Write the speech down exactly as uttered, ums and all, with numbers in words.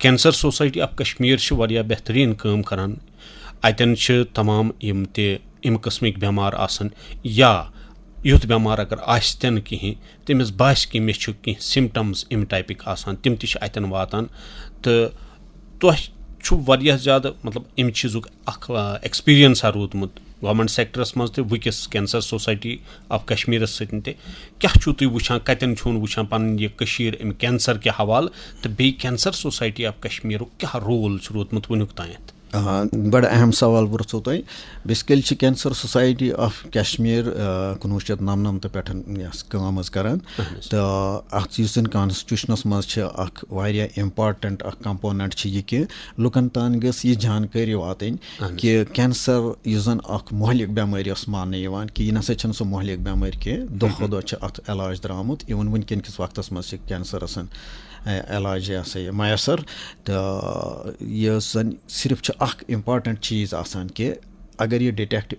Cancer society of Kashmir چھِ واریاہ بہتریٖن کٲم کران۔ اتٮ۪ن چھِ تمام یِم تہِ امہِ قٕسمٕکۍ بٮ۪مار آسان یا یُتھ بٮ۪مار اگر آسہِ تہِ نہٕ کِہیٖنۍ، تٔمِس باسہِ کہِ مےٚ چھُ کینٛہہ سِمٹمز امہِ ٹایپٕکۍ آسان، تِم تہِ چھِ اتٮ۪ن واتان۔ تہٕ تۄہہِ چھُ واریاہ زیادٕ، مطلب، امہِ چیٖزُک اکھ، آ، ایکسپیرینسا روٗدمُت گورنمنٹ سیکٹرس منٛز تہِ، وٕنکیٚس کینسر سوسائٹی آف کشمیرس سۭتۍ تہِ۔ کیٛاہ چھُو تُہۍ وٕچھان، کتٮ۪ن چھُو وٕچھان پنٕنۍ یہِ کٔشیٖر امہِ کینسر کہِ حوالہٕ، تہٕ بیٚیہِ کینسر سوسائٹی آف کشمیرُک کیٛاہ رول چھُ روٗدمُت وٕنیُک تامَتھ؟ آ، بڑٕ اہم سوال پرٛژھوٗ تۄہہِ۔ بیسیکلی چھِ کینسر سوسائٹی آف کشمیر، آ، کُنوُہ شیٚتھ نَمنَمتہٕ پٮ۪ٹھ یَس کٲم حظ کران۔ اہن حظ۔ تہٕ اتھ یُس زن کانسٹیٹیوشنس منٛز چھِ اکھ واریاہ امپارٹنٹ اکھ کمپوننٹ چھِ یہِ کہِ لُکن تام گٔژھ یہِ جانکٲری واتٕنۍ اہن حظ۔ کہِ کینسر یُس زن اکھ مہلک بٮ۪مٲرۍ ٲس ماننہٕ یِوان کہِ یہِ نسا چھنہٕ سۄ مہلک بٮ۪مٲرۍ کینٛہہ، دۄہ کھۄتہٕ دۄہ چھِ اتھ علاج درٛامُت، اِوٕن وٕنکیٚن کِس وقتس منٛز چھِ کینسرس، اے، علاج یہِ ہسا یہِ میسر۔ تہٕ یہِ زن صرف چھُ اکھ امپارٹنٹ چیٖز آسان کہِ اگر یہِ ڈِٹیکٹ